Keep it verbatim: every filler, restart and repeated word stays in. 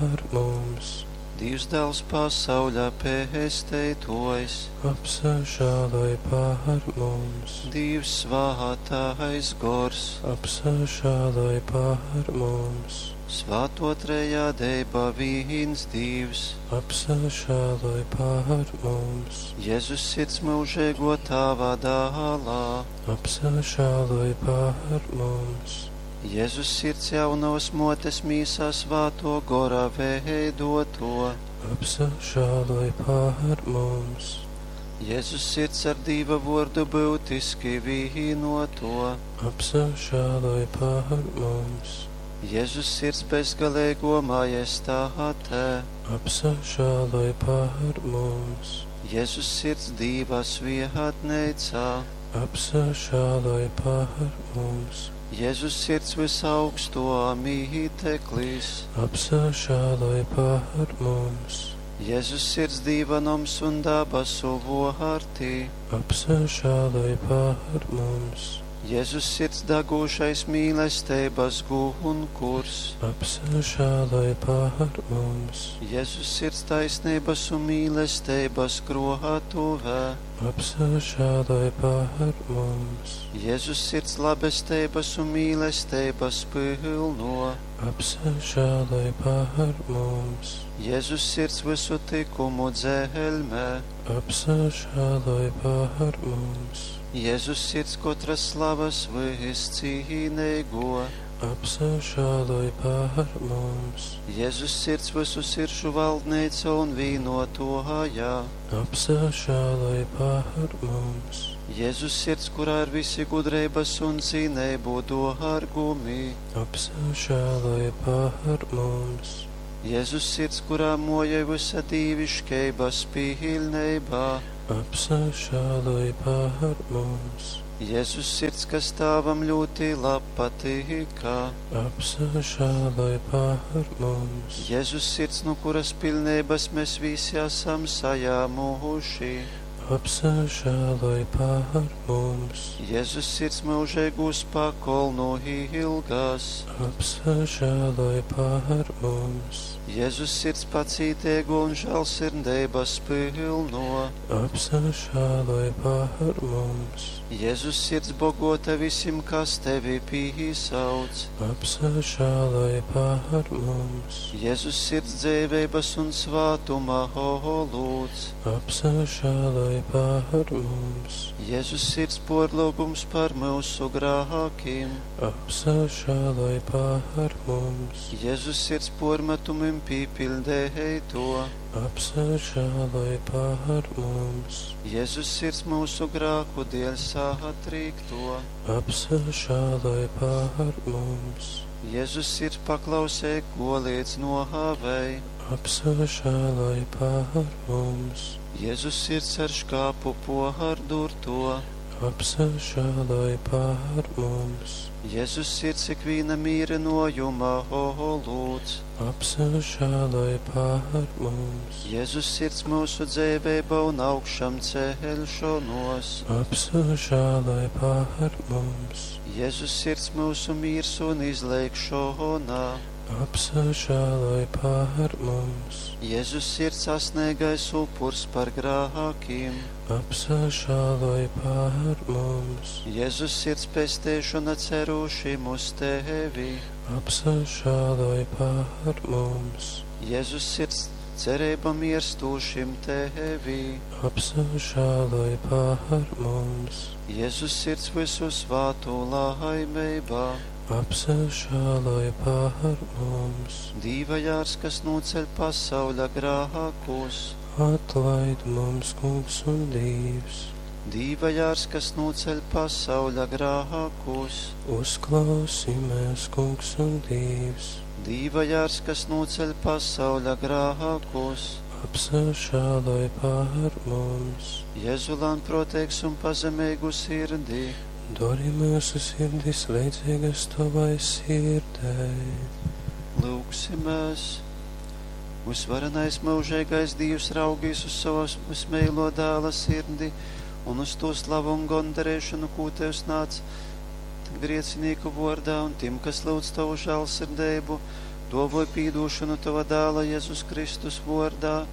pār mums! Dīvs Dāls pasauļa pesteituojs, Apsažāloj pār mums! Dīvs svātais gors, Apsažāloj pār mums! Svāto trejadeiba vīns Dīvs, Apsažāloj pār mums! Jezus sirds myužeiguo Tāva dālā, Apsažāloj pār mums! Jezus sirds jaunovas muotes mīsā svātuo gora veidoto, Apsažāloj pār mums! Jezus sirds ar Dīva vuordu byutiski vīnoto, Apsažāloj pār mums! Jezus sirds bezgaleiguo majestāte, Apsažāloj pār mums! Jezus sirds Dīva svietneicā, Apsažāloj pār mums! Jezus sirds visaugsto mīteklis, Apsažāloj pār mums! Jezus sirds Dīva noms un dabasu vuorti, Apsažāloj pār mums! Jezus sirds dagūšais mīlesteibas gunkurs, Apsažāloj pār mums! Jezus sirds taisnības un mīlesteibas kroatuvē, Apsažāloj pār mums! Jezus sirds labesteibas un mīlesteibas pylno, Apsažāloj pār mums! Jezus sirds visu tikumu dzelmē, Apsažāloj pār mums! Jezus sirds katras slavas viscīneigo, Apsažāloj pār mums! Jezus sirds visu siršu valdneica un vīnotoja, Apsažāloj pār mums! Jezus sirds, kurā ir visi gudrības un zinību dārgumi, Apsažāloj pār mums! Jezus sirds, kurā mojai visa dīviškeibas pilnībā, Apsažāloj pār mums! Jezus sirds, kas Tēvam ļoti patika, Apsažāloj pār mums! Jezus sirds, no kuras pilnības mēs visi esam sajāmuši, Apsažāloj pār mums! Jezus sirds mūžīgūs pakolnu ilgas, Apsažāloj pār mums! Jezus sirds pacītīgo un žēlsirdības pilno, Apsažāloj pār mums! Jezus sirds bogota visiem, kas tevi pīsauc, Apsažāloj pār mums! Jezus sirds dzīvības un svātuma olūts, Apsažāloj pār mums! Jezus sirds porlūgums par mūsu grākiem, Apsažāloj pār mums! Jezus sirds pormetumim pīpildēto, Apsažāloj pār mums! Jezus sirds mūsu grāku dēļ satrīkto, Apsažāloj pār mums! Jezus sirds paklausē, ko liec nohāvei, Apsažāloj pār mums! Jezus sirds ar škāpu pohardurto, Apsažāloj pār mums! Jezus sirds ikviena mīrinojuma olūts, Apsažāloj pār mums! Jezus sirds mūsu dzīvība un augšām celšanos, Apsažāloj pār mums! Jezus sirds mūsu miers un izlēkšana, Apsažāloj pār mums! Jezus sirds sasniegais upurs par grākiem, Apsažāloj pār mums! Jezus sirds pestēšana cerūšim uz tevi, Apsažāloj pār mums! Jezus sirds cerība mirstūšim tevi, Apsažāloj pār mums! Jezus sirds visu svātu laimībā, Apsažāloj pār mums! Dīva jārs, kas noceļ pasauļa grākus, Atlaid mums, Kungs un Dievs! Dīva jārs, kas noceļ pasauļa grākus, Uzklausi mēs, Kungs un Dievs! Dīva jārs, kas noceļ pasauļa grākus, Apsažāloj pār mums! Jēzu lēnprātīgs un pazemīgu sirdī, Dori mūsu sirdis līdzīgas tavai sirdei. Lūgsimies! Visvarenais mūžīgais Dievs raugīs uz savas vismīlo dēla sirdi un uz to slavu un gondarēšanu, ko Tev nāc griecinīku vārdā un tiem, kas lūdz Tavu žēlsirdību, Duovoj pīdūšonu Tova Dāla Jezus Kristus vuordā.